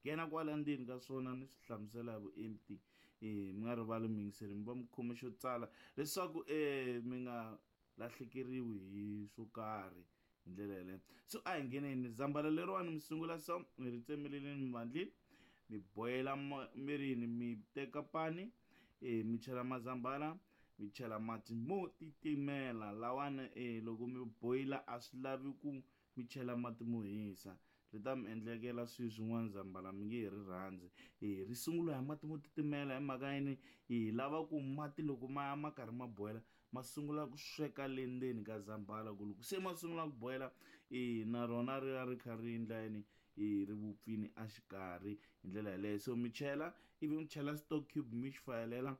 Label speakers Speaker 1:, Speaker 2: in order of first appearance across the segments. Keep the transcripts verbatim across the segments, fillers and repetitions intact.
Speaker 1: Nghena kwala ndzeni ka swona ni swi hlamusela hi vuenti. E mi nga rivali muyingiseri mi va mi khome xo tsala leswaku um mi nga lahlekeriwi hi swo karhi hi ndlela yeleyo. So a hi ngheneni zambhala leriwani mi sungula so mi ri tsemeleleni mi vandlini mi boyela mirini mi teka pani e mi chela mazambhala mi chela mati mo titimela lawani e loko mi boyila a swi lavi ku mi chela mati mo hisa ri ta mi endlekela swilo swin'wana zambhala mi nge he ri rhandzi. E ri sungula hi mati mo titimela hi mhaka yini hi lava ku mati loko ma ya ma karhi ma boyela ma sungula ku sweka le ndzeni ka zambhala ku loko se ma sungula ku boyela e na rona ri ya ri kha ri endla yini e ri vupfini a xikarhi hi ndlela yeleyo. So mi chela ivi mi chela stock cube mi xi fayelela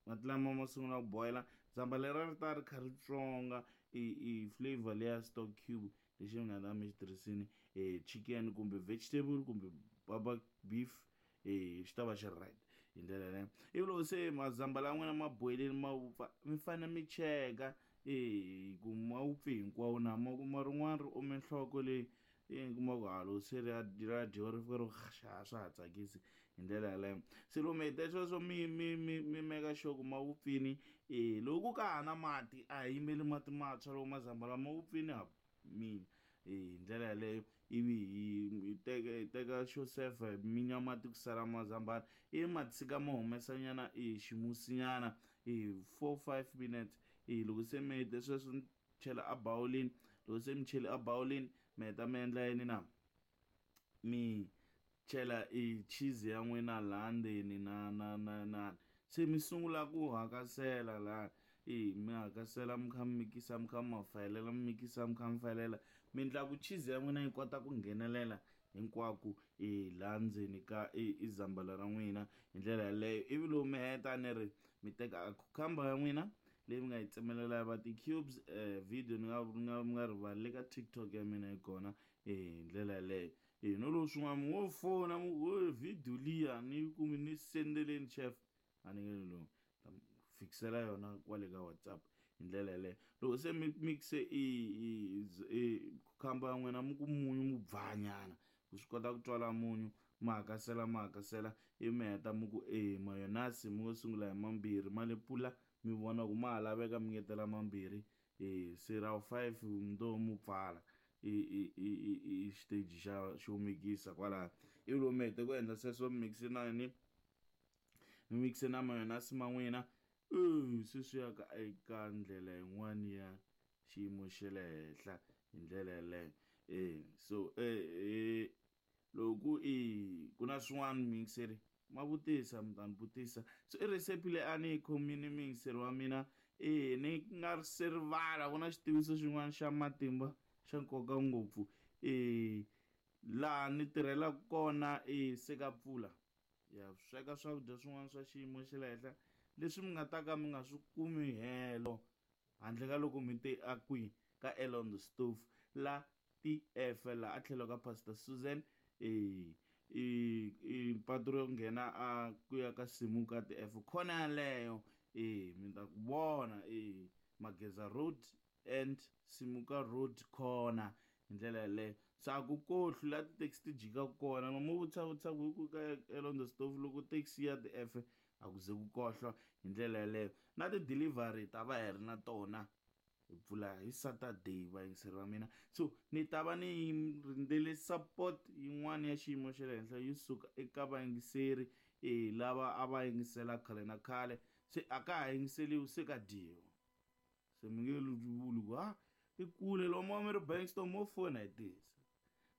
Speaker 1: mati lama ma sungula ku boyela zambhala leriya ri ta ri kha ri tswonga i i flavor leya stock cube lexi mi nga ta mi xi tirhisini e chicken kumbe vegetable kumbe baba beef e xi ta va xi ri right hi ndlela yaleyo. Ivi loko se mazambhala ya n'wina ma boyelini ma vupfa mi fanele mi cheka e ku ma vupfe hinkwawo na ma kuma rin'wana ri ome nhloko leyi e kuma ku ha loko se ri ya ri ya dyiwa ri fika ri xa swa ha tsakisi hi ndlela yaleyo. Se loko mi heta sweswo mi mi mi mi meka sure ku ma vupfini e loko ka ha na mati a hi yimeli mati mantshwa loko mazambhala ma vupfini ha mina e hi ndlela yaleyo. Ivi hi hi teka hi teka xo sefa hi minya mati ku sala mazambhala ivi ma tshika ma humesa nyana e ximusinyana e four five minutes e loko se mi hete sweswo mi chela a bawulini loko se mi chele a bawulini mi heta mi endla yini na mi chela e cheese ya n'wina laha ndzeni na na na na se mi sungula ku hakasela laha e mi hakasela mi kha mi mikisa mi kha mi ma fayelela mi mikisa mi kha mi fayelela mi endla ku cheese ya n'wina yi kota ku nghenelela hinkwako e laha ndzeni ka i zambhala ra n'wina hi ndlela yaleyo. Ivi loko mi heta ni ri mi teka cucumber ya n'wina leyi mi nga yi tsemelela ya va ti-cubes um video ni nga ni nga mi nga rivali le ka TikTok ya mina yi kona e hi ndlela yaleyo. E no loko swin'wana mi ngo fona mi ku video liya ni yi kumi ni sendeleni chef a ni nge lomu ta mi fikisela yona kwale ka WhatsApp hi ndlela yaleyo. Loko se mi mixe i i i cucumber ya n'wina mi ku munyu mu bvanyana ku swi kota ku twala munyu ma hakasela ma hakasela ivi mi heta mi ku e mayonnaise mi ngo sungula hi mambirhi ma lepula mi vona ku ma ha laveka mi ngetela mambirhi e se ra wu five ndo mu pfala i i i i xiteji xa xo mikisa kwalano. Ivi loko mi hete ku endla sweswo mi mixe na yini mi mixe na mayonnaise ma n'wina e se swi ya ka eka ndlela yin'wani ya xiyimo xa le henhla hi ndlela yaleyo. E so e loko i ku na swin'wana muyingiseri ma vutisa mi ta ni vutisa. So i recipe leyi a ni yi khomile muyingiseri wa mina e ni nga se rivala ku na xitiviso xin'wana xa matimba xa nkoka ngopfu e laha ni tirhelaka kona e se ka pfula ya sweka swakudya swin'wana swa xiyimo xa le henhla leswi mi nga ta ka mi nga swi kumi helo handle ka loko mi te a kwihi ka L on the stove la T F la a tlhelo ka Pastor Susan e i i patu ro nghena a ku ya ka Simuka T F khona yaleyo e mi ta ku vona e Mageza Road and Simuka Road corner hi ndlela yaleyo. Se a ku kohli la ti-taxi ti jikaka kona no mo vutisa vutisa ku hi ku ka L on the stove loko taxi ya T F a ku ze ku kohla hi ndlela yaleyo. Na ti-delivery ta va hi ri na tona hi pfula hi Saturday vayingiseri va mina. So ni ta va ni rindzele support yin'wana ya xiyimo xa le henhla yo suka eka vayingiseri e lava a va yingisela khale na khale se a ka ha yingiseliwi se ka dyiwa se mi nge vuli ku ha i kule lomu mi ri Bankston mo fona hi tisa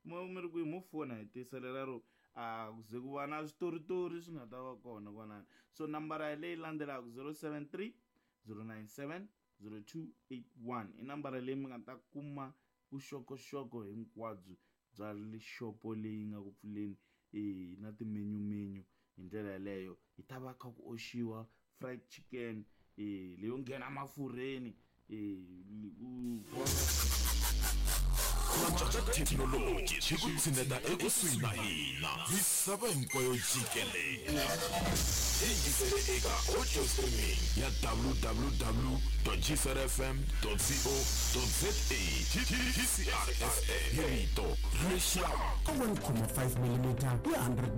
Speaker 1: mo mi ri kwihi mo fona hi tisa leraro a ku ze ku va na switoritori swi nga ta va kona kwanani. So nambara leyi landzelaka zero seven three zero nine seven zero two eight one i nambara leyi mi nga ta kuma vuxokoxoko hinkwabyo bya lixopo leyi nga ku pfuleni e na timenyumenyu hi ndlela yaleyo. Hi ta va kha ku oxiwa fried chicken e leyo nghena mafurheni e
Speaker 2: thekinoloji xi ku tshineta ekusuhi na hina misava hinkwayo jikelele. Yingisele eka audio streaming ya w w w dot g c r f m dot co dot z a. G C R F M hi rito lexi
Speaker 3: one point five millimeter ya hundred